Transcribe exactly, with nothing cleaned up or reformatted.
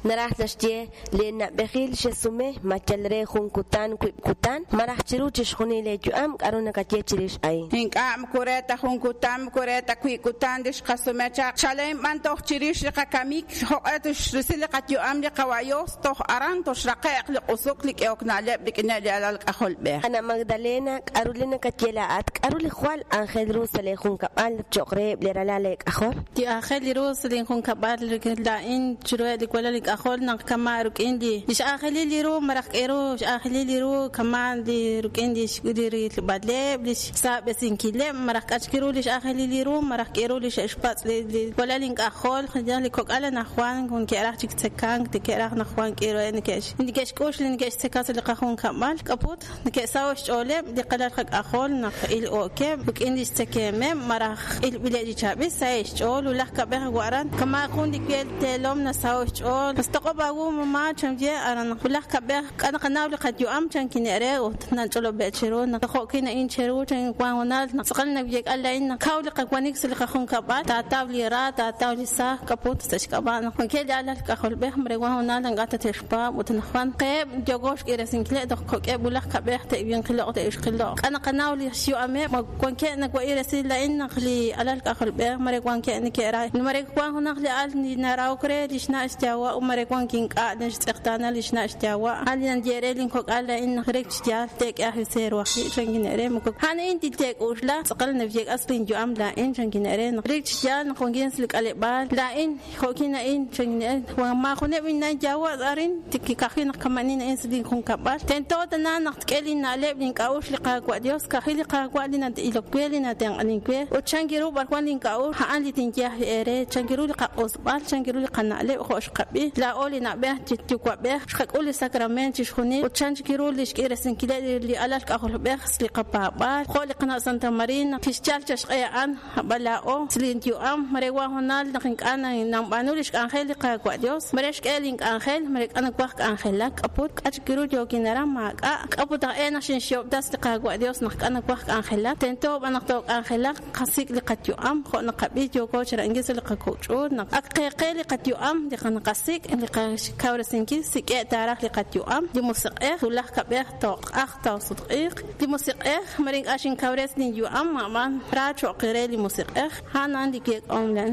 Naraj naxye, lee na'b'ejil xesume ma yal re jun kutan, wib' kutan, malaj chiru chixjunil leeyu'am k'aru nakaye chirix a'in. Ink'a' moko re ta jun kutan moko re ta wib' kutan li xqasume chaq chalen b'an toj chirix li qakamik joq'e toxrisi li qayu'am li qawa' Dios toj aran toxraqe'q li q'usuk li k'ehok na'leb' rik'ineb' li alal k'ajolb'ej. Ana Magdalena, k'aru li nakaye laa'at, k'aru li jwal aajel ru sa' lee junkab'al cho'q reheb' li ralal leek'ajol? Li aajel li ru sa' linjunkab'al laa'in chiruheb' li walal ink'ajol naq kama' rik'in li x'aajelil li ru malaj k'e ru x'aajelil li ru kama' li rik'in li li rilb'aleb' li xsaab'esinkileb' malaj k'a chik ru li x'aajelil li ru malaj k'e ru li xe'xpatz' li li walal ink'ajol li kok'al anaqwan neke'raj chik tzekank neke'raj naq wan k'e ruheb' neke'x neke'xk'ux li neke'xtzeka sa' li qajunkab'al k'aput neke'saho' xch'ooleb' li qalal qak'ajol naq il'ookeb' rik'in li xtzekemeb' malaj ilb'ileb' chi chaab'il saheb' xch'ool wulaj kab'ej wa'ran kama' jun li wel teelom nasaho' xch'ool mas toq'ob' aawu mamá chanye aran wulaj kab'ej k'a naqanaw li qayu'am chan kine're ut nach'olob'e chiru naq jo'kin a'in chiru chan wan honal naq tz'aqal nawyek'al la'in naq kaw li qawanik sa' li qajunkab'al taataw li ra taataw li saaj k'aput sa' xk'ab'a' naq wankeb' li alal k'ajolb'ej mare wan honal ink'a' tate'xpaab' ut naq qeeb' yooko xk'iresinkileb' toj kok'eb' wulaj kab'ej te'winqiloq' te'ixqiloq' k'a naqanaw li xyu'ameb' wankeb' nawa'i resil la'in naq li alal k'ajolb'ej mare wankeb' neke'ra mare wan junaq li al narahok re li xna' xyawa' mare wan kink'a' naxtz'eqtaana li xna' xyawa' al nanyere linkok'al la'in naq rek xyaal teek'e ajwi' seerwajli chan kine're moko a'an a'in tilteek'uxla tz'aqal nawyek'as linyu'am la'in chan kine're naq rek xyaal naq wankin sa' li k'aleb'aal la'in jo'kin a'in chan kine're maajuneb' inna' yawa' arin tikikajwi' naq kama'nin a'in sa' linjunkab'al tento tana naq tk'e linna'leb' link'a'uxl li Qaawa' Dios kajwi' li Qaawa' li na'ilok we li natenq'anin we ut chan kiru b'ar wan link'a'uxl a'an li tinye ajwi' eere chan kiru li qaq'usb'al chan kiru li qana'leb' jo' xqab'i laa'o li na'b'ej yuwa'b'ej xqak'ul li sacrament chixjunil ut chan kiru li xk'iresinkileb' li alal k'ajolb'ej li qapaab'aal jo' li qana' Santa Marina kixyal chaxq'e a'an ab'an laa'o sa' linyu'am mare wan honal naq ink'a' nanb'aanu li xk'anjel li Qaawa' Dios mare xk'e link'anjel mare k'a nawaj k'anjelak k'aput k'a chik ru yookin aran maak'a' k'aput aj e naq xinxyoob'tas li Qaawa' Dios naq k'a nawaj k'anjelak tento b'an naq took'anjelak qasik' li qayu'am jo' naqab'i yooko chira'ankil sa' li qakok'ch'uut naq ak qeeqe li qayu'am li naqasik' li qakawresinkil sik'e' taaraj li qayu'am li musiq'ej wulaj kab'ej toq'aj toosutq'iiq li musiq'ej mare ink'a' xinkawres linyu'am a'b'an ra cho'q re li musiq'ej a'an li yeek'om lan.